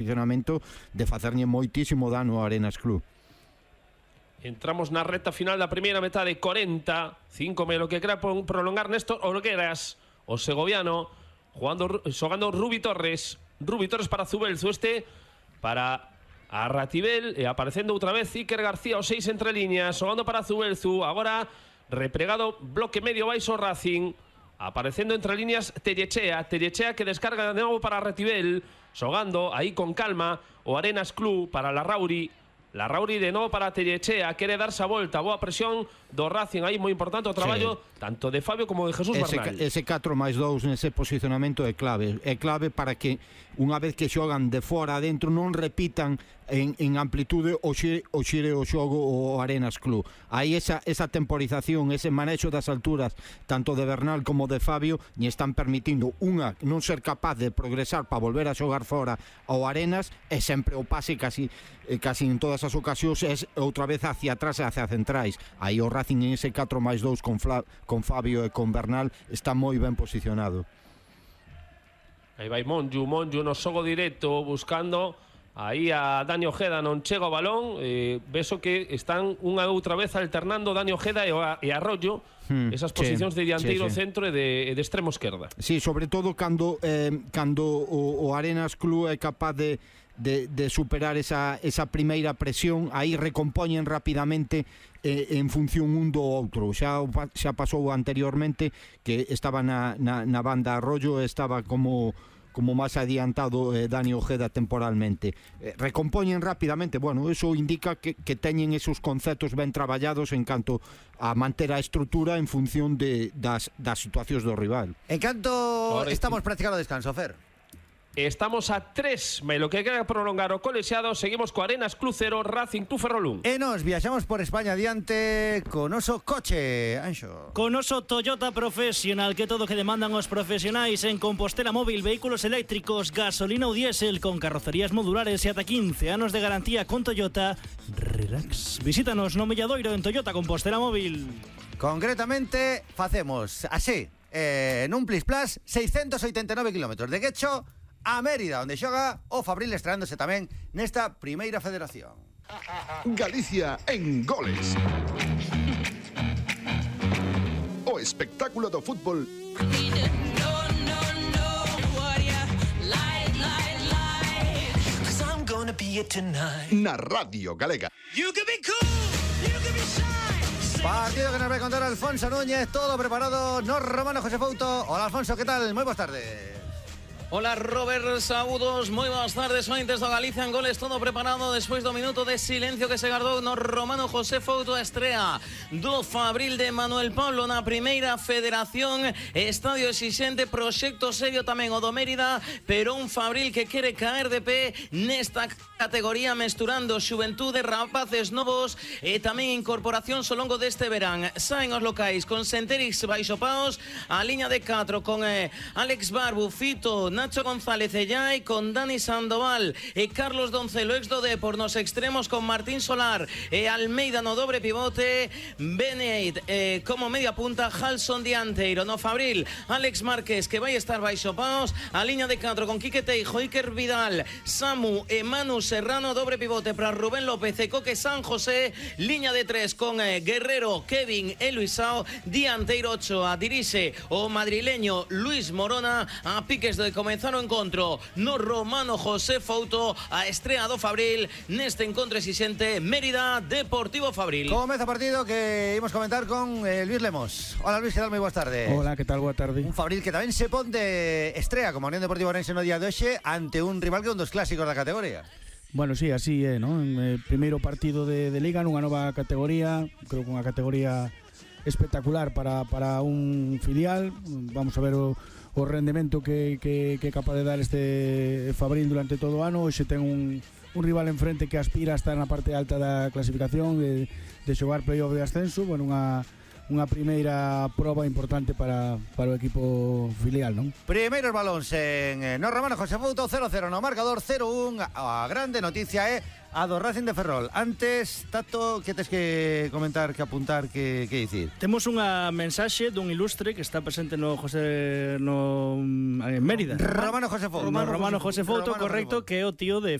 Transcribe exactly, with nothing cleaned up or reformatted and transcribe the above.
posicionamento de facerlle moitísimo dano ao Arenas Club. Entramos na recta final da primeira metade, corenta, cinco me lo que quera prolongar Néstor Olgueras, o segoviano, jugando, xogando Rubi Torres, Rubi Torres para Zubelzu, este para a Ratibel, e aparecendo outra vez Iker García, o seis entre líneas, xogando para Zubelzu, agora repregado bloque medio baixo Racing, aparecendo entre líneas Tellechea, Tellechea que descarga de novo para Ratibel, xogando aí con calma o Arenas Club para Larrauri, Larrauri de novo para Tellechea, quere darse a volta, boa presión do Racing, aí moi importante o traballo sí. tanto de Fabio como de Jesús ese, Bernal. Ese catro máis dous nese posicionamento é clave, é clave para que unha vez que xogan de fora adentro non repitan en, en amplitude o xire, o xire o xogo o Arenas Club. Aí esa, esa temporización, ese manexo das alturas tanto de Bernal como de Fabio lle están permitindo unha non ser capaz de progresar para volver a xogar fora ao Arenas, e sempre o pase casi, casi en todas as ocasións é outra vez hacia atrás e hacia centrais. Aí o Racing en ese catro máis dous con, Fla, con Fabio e con Bernal está moi ben posicionado. Aí vai Monju, Monju no xogo directo buscando aí a Dani Ojeda, non chega o balón, eh, beso que están unha outra vez alternando Dani Ojeda e, e Arroyo, hmm, esas posicións sí, de dianteiro sí, sí. centro e de, de extremo esquerda. Sí, sobre todo cando, eh, cando o, o Arenas Club é capaz de De, de superar esa, esa primeira presión, aí recompoñen rapidamente eh, en función un do outro. Xa, xa pasou anteriormente que estaba na, na, na banda Arroyo, estaba como como máis adiantado eh, Dani Ojeda temporalmente. Eh, recompoñen rapidamente, bueno, eso indica que, que teñen esos conceptos ben traballados en canto a manter a estrutura en función de, das, das situacións do rival. En canto Ahora, estamos practicando descanso, Fer. Estamos a tres, me lo que queda prolongar o colexiado. Seguimos co Arenas Club cero, Racing tu Ferrolún. E nos viaxamos por España adiante con oso coche, Anxo. Con oso Toyota Professional, que todo que demandan os profesionais en Compostela Móvil, vehículos eléctricos, gasolina ou diésel, con carrocerías modulares e ata quince anos de garantía con Toyota. Relax. Visítanos no Milladoiro en Toyota Compostela Móvil. Concretamente, facemos así, eh, nun Plis Plus, seiscentos oitenta e nove kilómetros de Guecho a Mérida, onde xoga o Fabril, estreándose tamén nesta primeira federación. Galicia en goles. O espectáculo do fútbol na Radio Galega. Partido que nos vai contar Alfonso Núñez, todo preparado no Romano José Fouto. Hola Alfonso, que tal? Moi boas tardes. Hola Robert, saúdos, moi boas tardes, ointes do Galicia en goles, todo preparado despois do minuto de silencio que se gardou no Romano José Fouto, a estrea do Fabril de Manuel Pablo na primeira federación, estadio exixente, proxecto serio tamén o do Mérida, pero un Fabril que quere caer de pé nesta categoría, mesturando xuventude, rapaces novos e tamén incorporacións ao longo deste verán. Saen os locais con Senterix baixo paos, a liña de catro con eh, Alex Barbu, Fito, Nacho González Ellai, con Dani Sandoval e Carlos Doncelo, ex do Depor nos extremos, con Martín Solar e Almeida no dobre pivote, Beneit eh, como media punta, Halson dianteiro. No Fabril, Alex Márquez, que vai estar baixo paos, a liña de catro con Quique Teijo, Iker Vidal, Samu e Manu Serrano, dobre pivote para Rubén López e Coque San José, liña de tres con eh, Guerrero, Kevin e Luisao, dianteiro Ochoa. Dirixe o madrileño Luis Morona, a piques de comenzar o encontro no Romano José Fouto, a estrea do Fabril neste encontro exixente Mérida Deportivo Fabril. Comeza o partido que imos comentar con eh, Luis Lemos. Hola Luis, que tal? Moi boas tardes. Hola, que tal? Boa tarde. Un Fabril que tamén se pon de estrea como Unión Deportiva Orense no día de hoxe ante un rival que é un dos clásicos da categoría. Bueno, sí, así é, ¿no? En el primeiro partido de, de Liga nunha nova categoría, creo que unha categoría espectacular para, para un filial. Vamos a ver o o rendemento que, que, que é capaz de dar este Fabril durante todo o ano. Hoxe ten un, un rival enfrente que aspira a estar na parte alta da clasificación, de, de xogar playoff de ascenso. Bueno, unha, unha primeira proba importante para, para o equipo filial, non? Primeiros balóns en no Romano José Fouto, cero cero no marcador, cero un. A grande noticia é a do Racing de Ferrol. Antes, Tato, que tes que comentar, que apuntar, que, que dicir? Temos unha mensaxe dun ilustre que está presente no José no en Mérida. Romano José Fouto. Romano, Romano José Fouto, correcto, que é o tío de